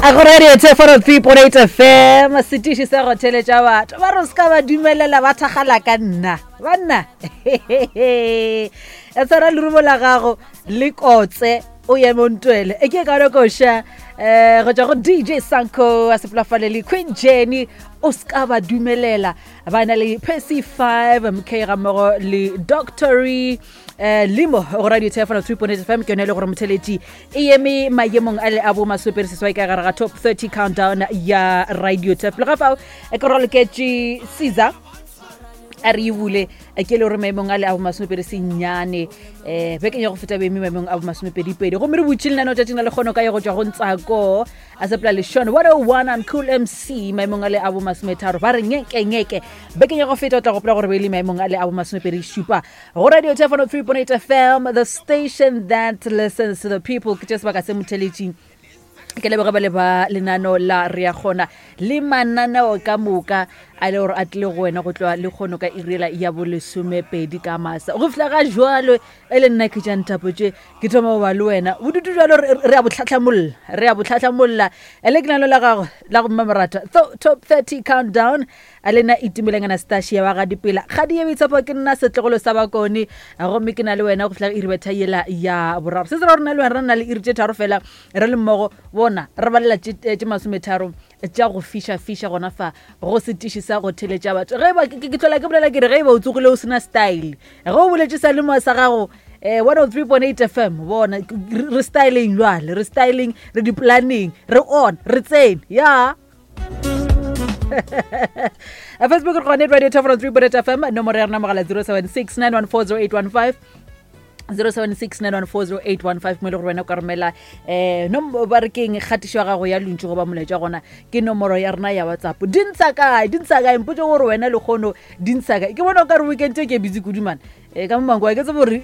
A go radio 3.8 FM setiši sa go theletša batho ba re se ka ba dumelela ba thagala ka nna banna e tshwara lerumo la gago le kotse o ye montwele e ke ka koša um go tšwa go DJ Sanko a sepolafale le Queen Jenny o se ka ba dumelela ba na le Percy 5 MK ga mmogo le Doctory um limo go radio tfm 3.8 FM ke yone e le gore motheletši e eme maemong a le a bo masopere seswai ka gare ga top 30 countdown ya radio tf le ga fao e ke roloketše caesar a re e bule ke le gore maemong a le a bomasomepedi senyane um bekeng ya go feta boeme maemong a bomasomepedipedi gomme re butše lenaneo tšatšing la lekgono ka ye go tšwa go ntsako a sepela lešone 101 and cool mc maemong a le a bomasometharo ba re ngeke ngeke bekeng ya go feta o tla gopola gore be e le maemong a le a bomasomepedi šupa go radio tefano 3.8 FM the station that listens to the people ke tše sebaka se motheletšing ke leboge ba le ba lenano la re ya kgona le mananeo ka moka a le gore a tlile go wena go tloa le kgono ka irela ya bolesomepedi ka masa go fihla ga jalo e le nna ke tša nthapo tše ke thoma go ba le wena bodutu jalo re a botlhatlhamolla re a botlhatlhamolla e le ke nalo la gago la go mmamorata top 30 countdown A le nna Itumeleng Anastasia wa ga Dipela, kgadi ye boitshepo, ke nna setlogolo sa Bakone, gomme ke na le wena go fihla iri betha yela ya boraro. Se se ra gore nna le wena re na le iri tše tharo fela re le mmogo, bona re balela tše eh, masometharo tša go fiša fiša gona fa go setiši sa go theletša batho. Ge ba ke hlola ke bolela ke re ge e ba o tsogile o sena style, ge o boletše sa lemo sa gago eh 103.8 FM bona re styleng jwale, re styleng, re di planning, re on, re tsene ya. Facebook re gone radio top 3 point fm nomoro ya rena mogala 076 914 0815 mo e le gore wena o ka romela um ba re keng kgatišo ya gago ya lontši goba molaetša gona ke nomoro ya rena ya WhatsApp. Di ntsha kae, di ntsha kae? Mpotse gore wena lekgono di ntsha kae. Ke bona o ka re weekend e ke busy kudu mane um ka mo manko ke tsebe gore.